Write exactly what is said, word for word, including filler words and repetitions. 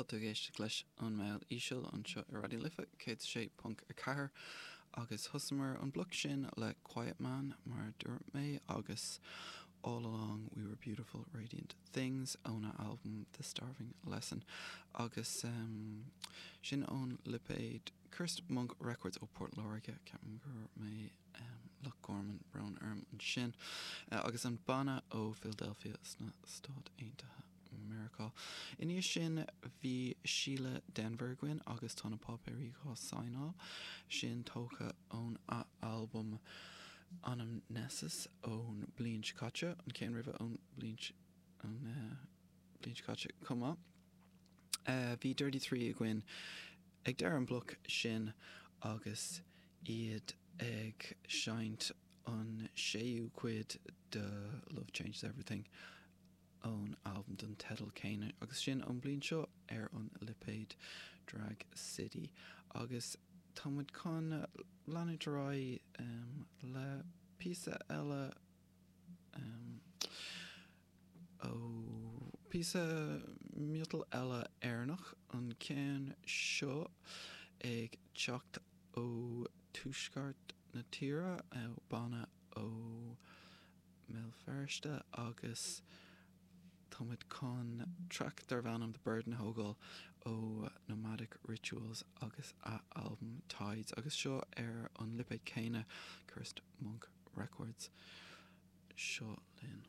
Tá tú ag éisteacht leis an Meall Íseal anseo ar Raidió na Life céad sé ponc a ceathair agus thosaíomar an bloc sin le Quiet Man mar a dúirt mé agus All Along We Were Beautiful Radiant Things óna albam The Starving Lesson agus um, sin ón lipéad Cursed Monk Records ó Port Láirge ceapaim gur mé um, Loch Gorman brón orm ansin uh, agus an banna ó Philadelphia sna Stáit Aontaithe Meiriceá. Ina dhiaidh sin bhí Síle Denvir againn agus tá na páipéirí á saighneáil sin tógtha ón albam Anamnesis ón bliain seo caite an ceann roimhe ón bliain an uh, bliain seo caite chomh maith. Uh, bhí Dirty Three againn ag deireadh an bloc sin agus iad ag seinnt an séú cuid de Love Changes Everything ón albam den teideal céanna agus sin an bliain seo ar an lipéad Drag City agus táimid chun leanúint ar aghaidh um, le píosa eile um, ó píosa miotal eile Éireannach an ceann seo ag teacht ó tuaisceart na tíre banna ó Mbéal Feirste agus táimid chun traic darb ainm The Burden a thógáil ó Nomadic Rituals agus a album Tides agus seo ar an lipéad céanna Cursed Monk Records seo linn.